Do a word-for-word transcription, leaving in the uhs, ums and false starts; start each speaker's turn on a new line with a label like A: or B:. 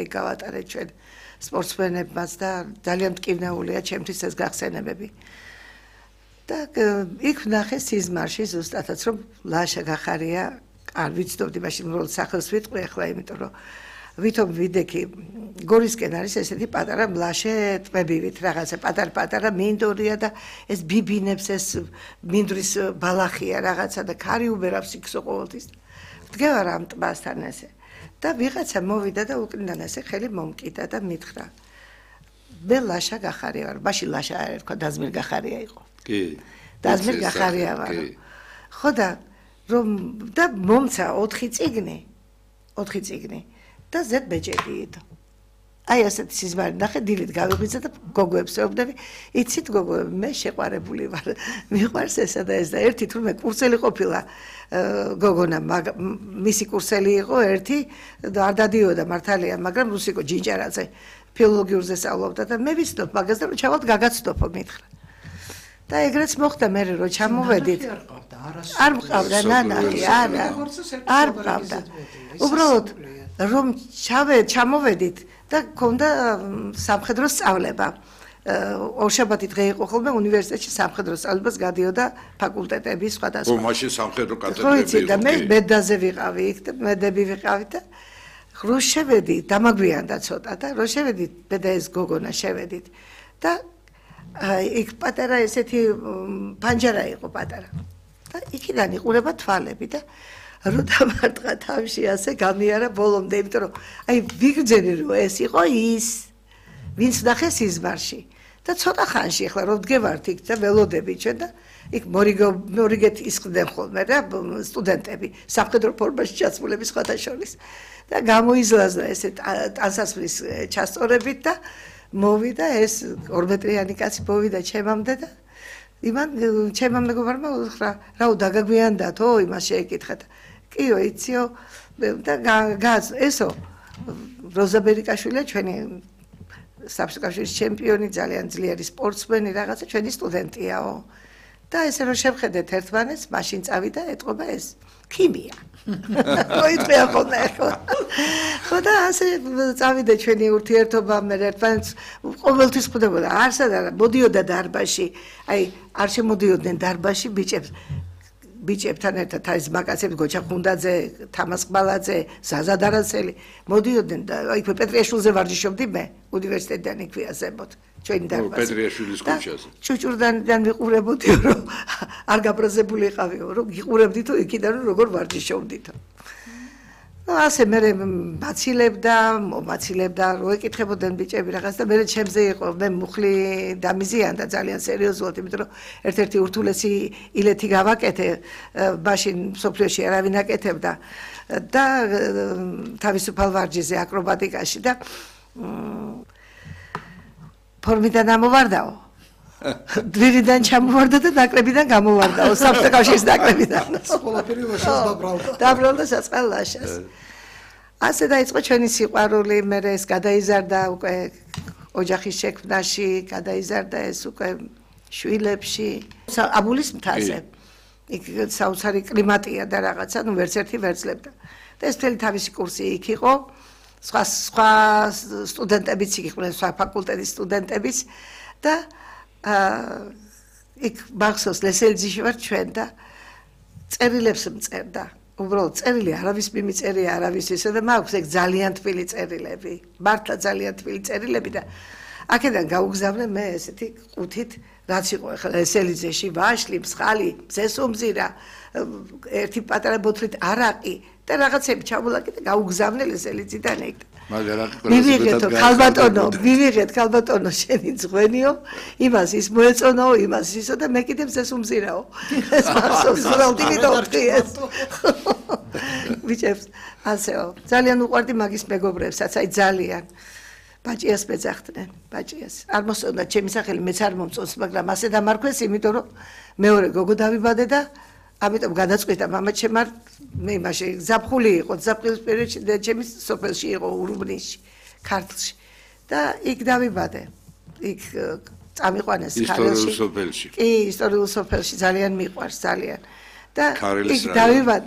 A: იქ გავატარეთ ჩვენ სპორტსმენებმაც და ძალიან მტკივნეულია ჩემთვის ეს გახსენებები. და იქ ვნახე სიზმარში ზუსტადაც რომ ლაშა გახარია არ ვიცნობდი მაშინ რომ სახელს ვიტყვი ახლა იმიტომ რომ ვითომ ვიდექი გორისკენ არის ესეთი პატარა მლაშე ტბებივით რაღაცა პატარ-პატარა მინდორია და ეს ბიბინებს ეს მინდრის ბალახია რაღაცა და ქარი უბერავს იქსო ყოველთვის ვდგევარ ამ ტბასთან ესე და ვიღაცა მოვიდა და უკნიდან ესე ხელი მომკიდა და მითხრა მე ლაშა გახარია ვარ მაშინ ლაშა არ ერქვა დაზმირ გახარია იყო
B: კი
A: დაზმირ გახარია ვარ ხო და რომ და მომცა ოთხი წიგნი ოთხი წიგნი და ზედ ბეჭედიით. აი ასეთი სიზმარი ნახე დილით გავიღვიძე და გოგოებს ვეუბნები, იცით გოგოები, მე შეყვარებული ვარ. მიყვარს ესა და ეს და ერთი თურმე კურსელი ყოფილა გოგონა, მისი კურსელი იყო ერთი და არ დადიოდა მართალია, მაგრამ რუსიკო ჯინჯარაძე ფილოლოგიურზე სწავლობდა და მე ვიცნობ მაგას და რომ ჩავალთ გაგაცნობო მითხრა. და ეგრეც მოხდა მე რომ ჩამოვედით. არ მყავდა ნანახი, არა. არ მყავდა. უბრალოდ რომ ჩავე ჩამოვედით და გქონდა სამხედრო სწავლება. ორშაბათი დღე იყო ხოლმე უნივერსიტეტში სამხედრო სწავლებას გადიოდა ფაკულტეტები სხვადასხვა.
B: ო მაშინ სამხედრო კათედრები
A: იყო. ხო იცი და მე მედაზე ვიყავი იქ და მედები ვიყავი და რო შევედი დამაგვიანდა ცოტა და რო შევედი მე და ეს გოგონა შევედით და იქ პატარა ესეთი პანჯარა იყო პატარა. და იქიდან იყურება თვალები და რო დამარტყა თავში ასე გამიარა ბოლომდე, იმიტომ რომ აი ვიგრძენი რომ ეს იყო ის, ვინც ნახე სიზმარში. და ცოტა ხანში ახლა რომ ვდგევართ იქ და ველოდები ჩვენ და იქ მორიგო მორიგეთ ისხდნენ ხოლმე რა სტუდენტები, სამხედრო ფორმაში ჩაცმულები სხვათა შორის. და გამოიზლაზა ესე ტანსაცმლის ჩასწორებით და მოვიდა ეს ორმეტრიანი კაცი მოვიდა ჩემამდე და იმან ჩემმა მეგობარმა უთხრა რაო დაგაგვიანდათო იმას შეეკითხა და კიო იციო და გაზ ესო როზა ბერიკაშვილია ჩვენი საბჭოთა ჩემპიონი ძალიან ძლიერი სპორტსმენი რაღაცა ჩვენი სტუდენტიაო და ესე რომ შევხედეთ ერთმანეთს მაშინ წავიდა ეტყობა ეს ქიმია მოიწია ხოლმე ახლა ხო და ასე წავიდა ჩვენი ურთიერთობა მე ერთმანეთს ყოველთვის ხვდებოდა არსად არა მოდიოდა დარბაზში აი არ შემოდიოდნენ დარბაზში ბიჭებს ბიჭებთან ერთად ეს მაკაცები გოჩა ხუნდაძე თამას ყბალაძე ზაზა დარაცელი მოდიოდნენ და აი პეტრიაშვილზე ვარჯიშობდი მე უნივერსიტეტიდან იქვია ზემოთ ჩვენი დარბაზი
B: პეტრიაშვილის ქუჩაზე
A: ჩუჭურდანიდან ვიყურებოდი რომ არ გაბრაზებული იყავიო რომ გიყურებდით იქიდან როგორ ვარჯიშობდითო ну ასე მე მაცილებდა მომაცილებდა რო ეკითხებოდნენ ბიჭები რაღაც და მე ჩემზე იყო მე მუხლი დამიზიანდა ძალიან სერიოზულად იმიტომ რომ ერთ-ერთი ურთულესი ილეთი გავაკეთე მაშინ სოფლიოში არავინ აკეთებდა და თავისუფალ ვარჯიშზე აკრობატიკაში და ფორმიდან ამოვარდაო დვირიდან ჩამოვარდა და ნაკრებიდან გამოვარდაო საბჭოთა კავშირის ნაკრებიდან
C: ყველაფერი ლაშას დაბრალდა
A: დაბრალდა საწყალ ლაშას ასე დაიწყო ჩვენი სიყვარული მე ეს გადაიზარდა უკვე ოჯახის შექმნაში გადაიზარდა ეს უკვე შვილებში აბულის მთაზე იქ საოცარი კლიმატია და რაღაცა ნუ ვერც ერთი ვერცლებდა და ეს მთელი თავისი კურსი იქ იყო სხვა სხვა სტუდენტებიც იქ იყვნენ სხვა ფაკულტეტის სტუდენტებიც და იქ მახსოვს ლესელიძეში ვარ ჩვენ და წერილებს მწერდა უბრალოდ წერილი არავის მიმიწერია არავის ისე და მაქვს ეგ ძალიან თბილი წერილები მართლა ძალიან თბილი წერილები და აქედან გაუგზავნე მე ესეთი ყუთით რაც იყო ახლა ლესელიძეში ვაშლი მსხალი მზესუმზირა ერთი პატარა ბოთლით არაყი და რაღაცები ჩამოლაკი და გაუგზავნე ლესელიძიდან ეგ მივიღეთო ქალბატონო მივიღეთ ქალბატონო შენი ძღვენიო იმას ის მოეწონაო იმას ისო და მე კიდევ ზესუმზირაო ეს მახსოვს რომ დიმიტოვი ეს ვიჭებს ასეო ძალიან უყვარდი მაგის მეგობრებსაც აი ძალიან ბაჭიას მეძახდნენ ბაჭიას არ მოსწონდა ჩემი სახელი მეც არ მომწონს მაგრამ ასე დამარქვეს იმიტომ რომ მეორე გოგო დავიბადე და ამიტომ გადაწყვიტა მამა ჩემარ მე მაშინ ზაფხული იყო ზაფხულის პერიოდში და ჩემი სოფელში იყო ურუბნისში ქართლში და იქ დავიბადე იქ წამიყვანეს
B: ქართლში ისტორიულ სოფელში
A: კი ისტორიულ სოფელში ძალიან მიყვარს ძალიან და იქ დავიბადე